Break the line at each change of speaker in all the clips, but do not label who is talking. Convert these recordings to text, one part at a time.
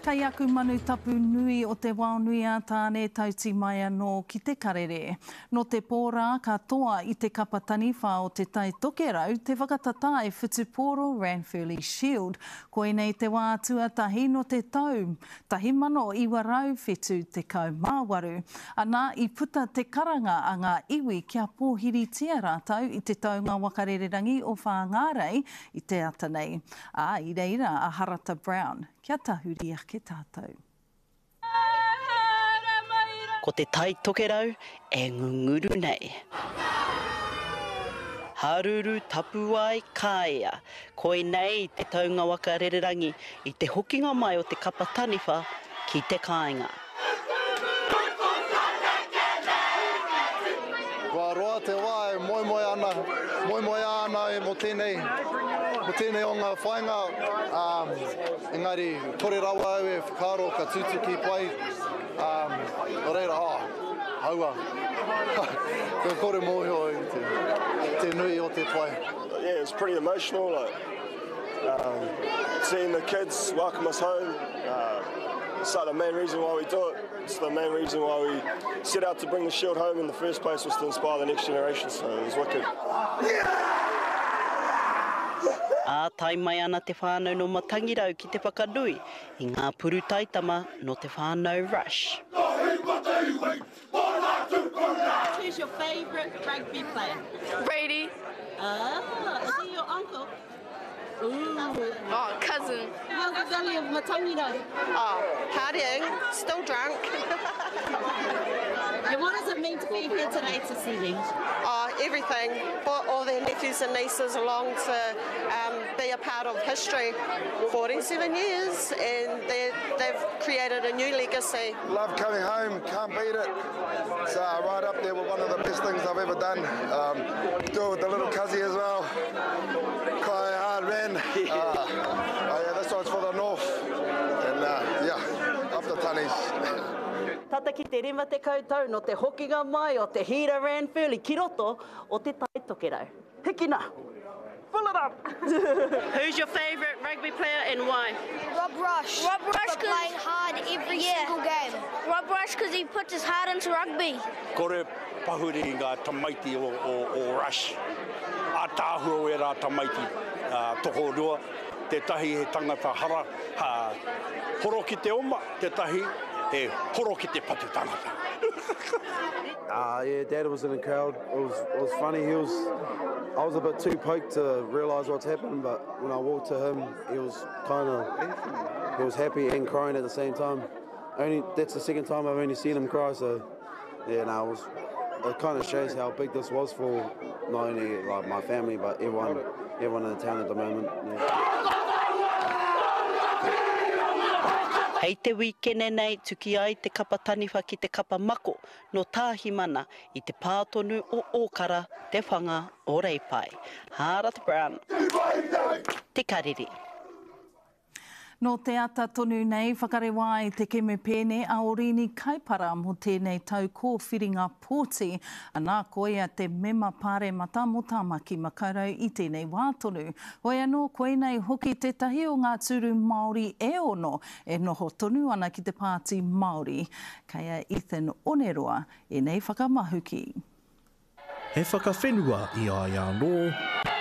Kei aku manu tapu nui o te wao nui a Tāne tauti mai anō ki te karere. Nō te pō rā ka toa i te kapa taniwha o Te Tai Tokerau te whakatatae whutupōro Ranfurly Shield. Koinei te wā tuatahi nō te tau 1978. Ana, i puta te karanga a ngā iwi kia pōhiritia rātou i te taunga waka rererangi o Whāngārei i te ata nei. Ā, i reira a Harata Brown. Kia tahuri ake tātou.
Ko te Tai Tokerau e ngunguru nei. Haruru tapuwae kāea. Koinei te taunga waka rererangi i te hokinga mai o te kapa taniwha ki te kāinga.
Kua roa te wā e moemoe ana, moemoeā ana e mō tēnei, mō tēnei o ngā whāinga, ā, engari kore rawa au e whakaaro ka tutuki pai, ā, nō reira, oh, aua, kua kore mōhio i te, te nui o te pai.
Yeah, it's pretty emotional, like, um, seeing the kids welcome us home, uh, it's like the main reason why we do it. It's the main reason why we set out to bring the shield home in the first place was to inspire the next generation, so it was wicked.
Ā, tae mai ana te whānau nō Matangirau ki te whakanui i ngā puru taitama nō te whānau Rush.
Who's your favourite rugby player?
Brady.
Ah, is he your uncle? Ooh.
Oh, cousin.
How's the valley of Matangirau?
Oh, partying, still drunk.
And what does it mean to be here today to see them?
Oh, everything. Brought all their nephews and nieces along to um, be a part of history. 47 years, and they've created a new legacy.
Love coming home, can't beat it. It's uh, right up there with one of the best things I've ever done. Um, do it with the little cuzzy as well. Quite hard, man. Uh, oh yeah, this one's for the north. And uh, yeah, up the tunnies.
Tata ki te 50 tau nō te hokinga mai o te Hira Ranfurly ki roto o Te Tai Tokerau. Hikina! Fill it up! Who's your favourite rugby player and why?
Rob Rush.
Rob Rush
for playing hard every
yeah.
single game.
Rob Rush because he puts his heart into rugby.
Kore pahuri i ngā tamaiti o, o, o Rush. Ātaahua o ērā tamaiti uh, tokorua. Tētahi he tangata hara, ha, horo ki te oma, tētahi he horo ki te patu tangata.
Uh, yeah, Dad was in the crowd. It was, it was funny. He was, I was a bit too poked to realise what's happened, but when I walked to him, he was kind of, he was happy and crying at the same time. Only that's the second time I've only seen him cry. So, yeah, no, it was. It kind of shows how big this was for not only like my family but everyone, everyone in the town at the moment. Yeah.
Hei te wīkene nei tuki ai te kapa taniwha ki te kapa mako nō Tāhimana i te pā tonu o Ōkara, te whanga o Reipae. Hārata Brown, Te Karere.
Nō te ata tonu nei, whakarewa ai te kemepēne a Oriini Kaipara mō tēnei tau kōwhiringa pōti, anā, koia te mema pāremata mō Tāmaki Makaurau i tēnei wā tonu. Hoi anō, koinei hoki tētahi o ngā tūru Māori e ono e noho tonu ana ki te Pāti Māori. Kei a Ethan Oneroa ēnei whakamahuki.
He whakawhenua i a ia anō.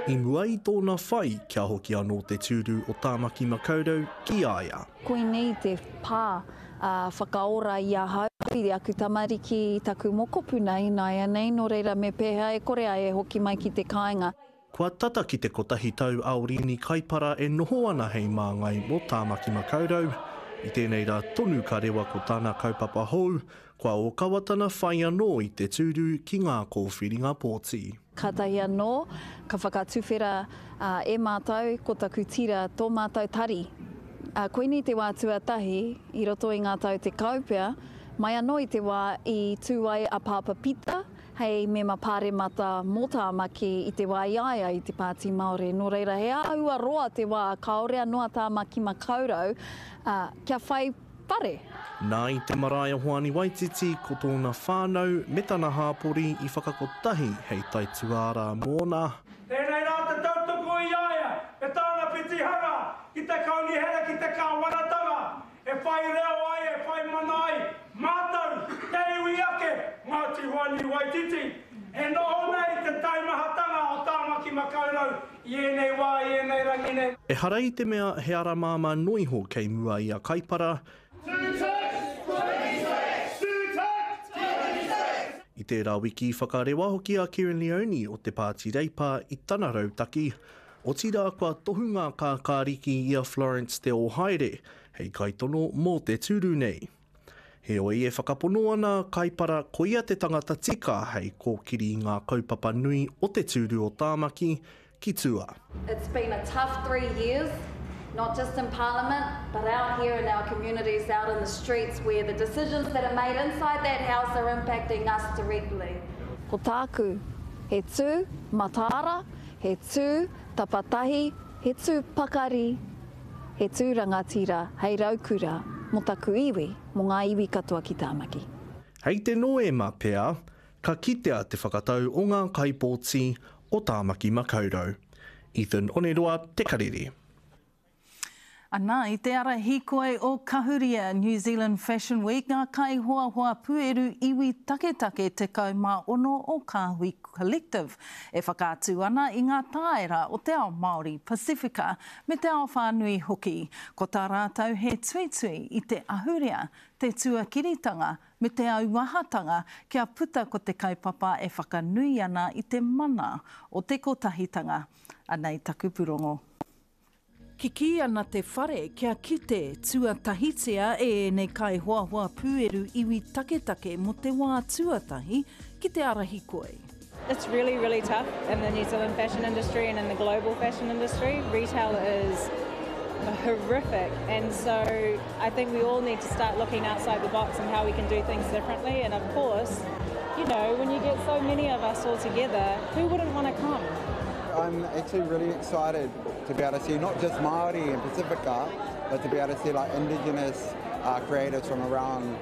I mua i tōna whai kia hoki anō te tūru o Tāmaki Makaurau ki a ia.
Koinei te pā whakaora i ahau, i aku tamariki, i taku mokopuna ināianei, nō reira me pēhea e kore ai e hoki mai ki te kāinga.
Kua tata ki te kotahi tau a Oriini Kaipara e noho ana hei māngai mō Tāmaki Makaurau. I tēnei rā tonu ka rewa ko tana kaupapa hou, kua ōkawa tana whai anō i te tūru ki ngā kōwhiringa pōti.
Kātahi anō ka whakatuwhera e mātou ko taku tira tō mātou tari. Koinei te wā tuatahi i roto i ngā tau tekau pea, mai anō i te wā i tū ai a Pāpa Pita hei mema pāremata mō Tāmaki i te wā i a ia i te Pāti Māori. Nō reira, he āhua roa te wā kāore anō a Tāmaki Makaurau kia whai whare.
Nā i te marae o Hoani Waititi ko tōna whānau me tana hāpori i whakakotahi hei taituārā mōna.
Tēnei rā te tautoko i a ia me tāna pitihana ki te Kaunihera ki te Kāwanatanga e whai reo ai e whai mana ai mātou te iwi ake Ngāti Hoani Waititi e noho nei te taimahatanga o Tāmaki Makaurau I ēnei wā, i ēnei rangi nei.
Ehara i te mea he ara māmā noa iho kei mua i a Kaipara. I tērā wiki i whakarewa hoki a Kerrin Leoni o te Pāti Reipa i tana rautaki, otirā kua tohu ngā kākāriki i a Florence Te Ohaere hei kaitono mō te tūru nei. Heoi, e whakapono ana a Kaipara koia te tangata tika hei kōkiri i ngā kaupapa nui o te tūru o Tāmaki ki tua.
It's been a tough 3 years, not just in Parliament, but out here in our communities, out in the streets where the decisions that are made inside that house are impacting us directly. Ko tāku, he tū mataara, he tū tapatahi, he tū pakari, He tū rangatira hei raukura mō taku iwi, mō ngā iwi katoa ki Tāmaki.
Hei te Noema pea, ka kitea te whakatau o ngā kaipōti o Tāmaki Makaurau. Ethan Oneroa, Te Karere.
Ana, i te ara hīkoi o Kahuria, New Zealand Fashion Week, ngā kaihoahoa pūeru iwi taketake 16 o Kāhui Collective e whakaatu ana i ngā tāera o te ao Māori Pasifika me te ao whānui hoki. Ko tā rātou he tuitui i te ahurea, te tuakiritanga me te auahatanga kia puta ko te kaupapa e whakanui ana i te mana o te kotahitanga. Anei taku purongo. Kikī ana te whare kia kite tuatahitia e ēnei kaihoahoa pūeru iwi taketake mō te wā tuatahi ki te ara hikoi.
It's really, really tough in the New Zealand fashion industry and in the global fashion industry. Retail is horrific and so I think we all need to start looking outside the box and how we can do things differently and of course, you know, when you get so many of us all together, who wouldn't want to come?
I'm actually really excited to be able to see not just Māori and Pacifica, but to be able to see like indigenous uh, creatives from around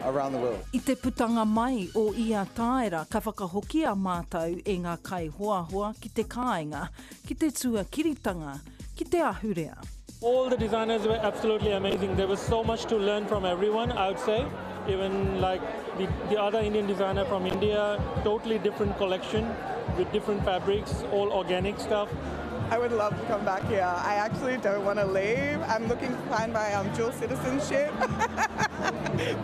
around the world.
I te putanga mai o ia tāera ka whakahokia mātou e ngā kaihoahoa ki te kāinga, ki te tuakiritanga, ki te ahurea.
All the designers were absolutely amazing. There was so much to learn from everyone, I would say. Even like the, the other Indian designer from India, totally different collection with different fabrics, all organic stuff.
I would love to come back here. I actually don't want to leave. I'm looking to find my um, dual citizenship.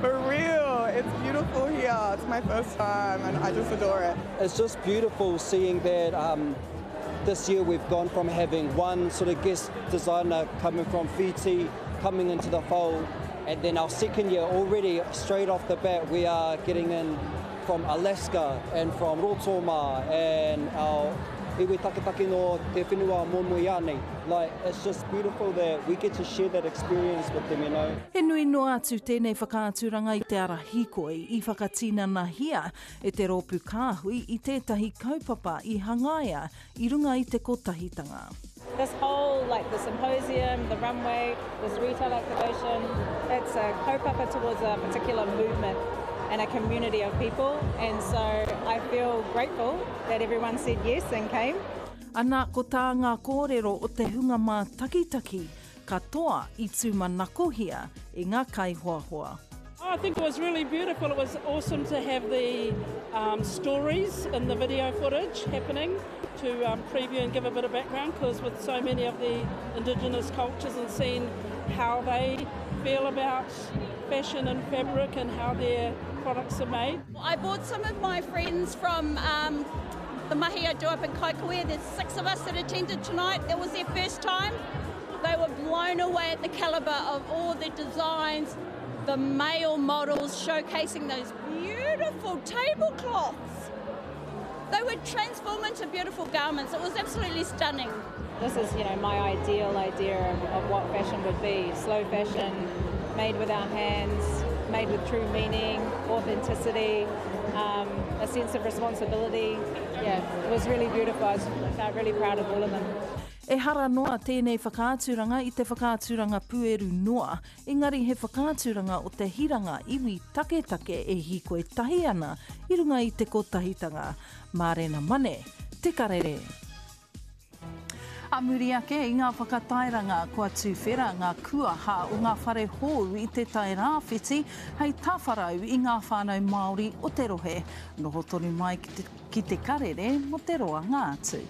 For real, it's beautiful here. It's my first time and I just adore it.
It's just beautiful seeing that um, this year we've gone from having one sort of guest designer coming from Fiji, coming into the fold, and then our second year already, straight off the bat, we are getting in from Alaska and from Rotoma and our iwi taketake no te whenua Momoiane. Like, it's just beautiful that we get to share that experience with them, you know.
He nui noa atu tēnei whakaaturanga i te ara hīkoi i whakatinanahia e te rōpū kāhui i tētahi kaupapa i hangaia i runga i te kotahitanga.
This whole, like the symposium, the runway, this retail activation, it's a kaupapa towards a particular movement and a community of people. And so I feel grateful that everyone said yes and came.
Ana, ko tā ngā kōrero o te hunga mātakitaki katoa i tūmanakohia e ngā kaihoahoa.
I think it was really beautiful. It was awesome to have the um, stories in the video footage happening to um, preview and give a bit of background because with so many of the indigenous cultures and seeing how they feel about fashion and fabric and how their products are made.
I bought some of my friends from um, the mahi I do up in Kaikohe. There's six of us that attended tonight. It was their first time. They were blown away at the caliber of all the designs, the male models showcasing those beautiful tablecloths. They would transform into beautiful garments. It was absolutely stunning.
This is, you know, my ideal idea of, of what fashion would be. Slow fashion, made with our hands, made with true meaning, authenticity, um, a sense of responsibility. Yeah, it was really beautiful. I was, I felt really proud of all of them.
Ehara noa tēnei whakaaturanga i te whakaaturanga pūeru noa, engari he whakaaturanga o te hiranga iwi taketake e hīkoi tahi ana i runga i te kotahitanga. Mārena Mane, Te Karere. A muri ake i ngā whakatairanga kua tuwhera ngā kuaha o ngā whare hou i Te Tai Rāwhiti hei tāwharau i ngā whānau Māori o te rohe. Noho tonu mai ki te, ki te karere mō te roanga atu.